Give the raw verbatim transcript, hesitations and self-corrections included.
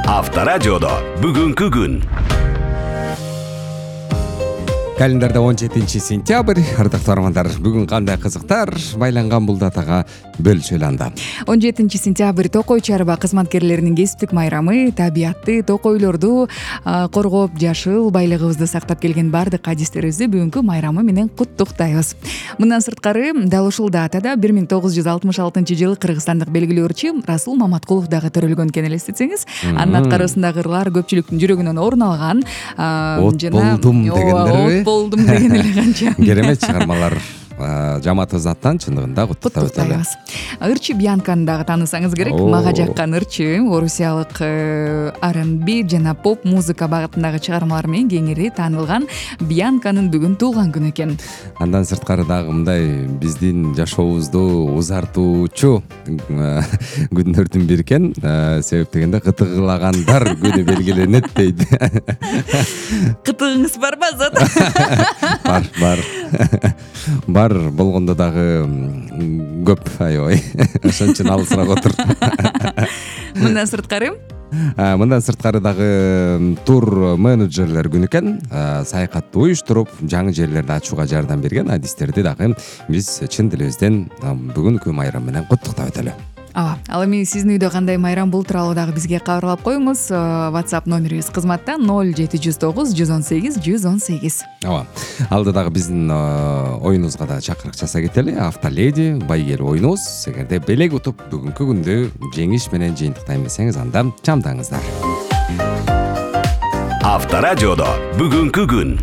Авторадиодо бүгүнкү күн. Календарда он жетинчи сентябрь. Ардактуу армандар, бүгүн кандай кызыктар байланган бул датага бөлүшөлү анда. он жетинчи сентябрь Токой чарба кызматкерлеринин кесиптик майрамы. Табиатты, токойлорду коргоп, жашыл байлыгыбызды сактап келген баардык адистерибизди бүгүнкү майрамы менен куттуктайбыз. Мындан сырткары дал ушул датада бир миң тогуз жүз алтымыш алтынчы жылы кыргызстандык белгилүү ырчы Расул Маматкулов дагы төрөлгөн экен, элестетсеңиз. Анын аткаруусундагы ырлар көпчүлүктүн жүрөгүнөн орун алган. От болдум дегендерби? болдум деген эле канча керемет чыгармалар. Жамаатыбыз аттан чындыгында куттуктап өтөлү. Ырчы Бьянканы дагы таанысаңыз керек. Мага жаккан ырчы орусиялык ар энд би жана поп музыка багытындагы чыгармалары менен кеңири таанылган Бьянканын бүгүн туулган күнү экен. Андан сырткары дагы мындай биздин жашообузду узартуучу күндөрдүн бири экен. Себеп дегенде кытыгылагандар күнү белгиленет дейт. Кытыгыңыз барбы Азат? Бар, бар. Бар болгондо дагы көп аябай. Ошон үчүн алысыраак отур. Мындан сырткары Мындан сырткары дагы тур менеджерлер күнү экен. Саякатты уюштуруп, жаңы жерлерди ачууга жардам берген адистерди дагы биз чын дилибизден бүгүнкү майрам менен куттуктап өтөлү. Ооба. Ал эми сиздин үйдө кандай майрам бул тууралуу дагы бизге кабарлап коюңуз. WhatsApp номерибиз кызматта ноль жети жүз тогуз жүз он сегиз жүз он сегиз. Ооба. Алда дагы биздин оюнубузга да чакырык жасай кетели. Автоледи байгел оюнубуз. Эгерде белек утуп бүгүнкү күндү жеңиш менен жыйынтыктайм десеңиз, анда чамдаңыздар. Авторадиодо бүгүнкү күн.